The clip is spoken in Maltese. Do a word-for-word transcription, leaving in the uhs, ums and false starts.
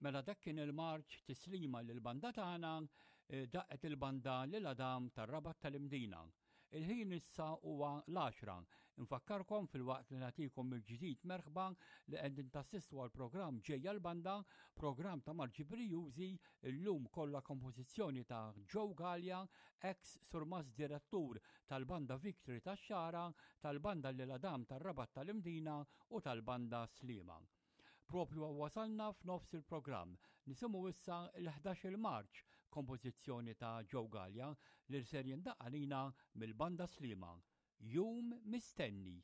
Mela dak kien il-marċ tislima lil banda tagħna eh, daqqet il-banda lil Adam tar-Rabat tal-Imdina. Il-ħin issa huwa l-għaxra. Infakkarkom filwaqt li nagħtikom mill-ġdid merħba li qegħdin tassistu għal programm ġejja l-banda, programm ta' Marġi Brijużi, illum kollha kompożizzjoni ta' Joe Galea, ex surmast direttur tal-banda Victory tax-Xagħra, tal-banda Lil Adam tar-Rabat tal-Imdina u tal-banda Sliema. Propju wasalna f'nofs il-programm. Nisimgħu issa il-ħdax-il marċ kompożizzjoni ta' Joe Galea li ser jindaqq għalina mill-banda Sliema. Jum mistenni.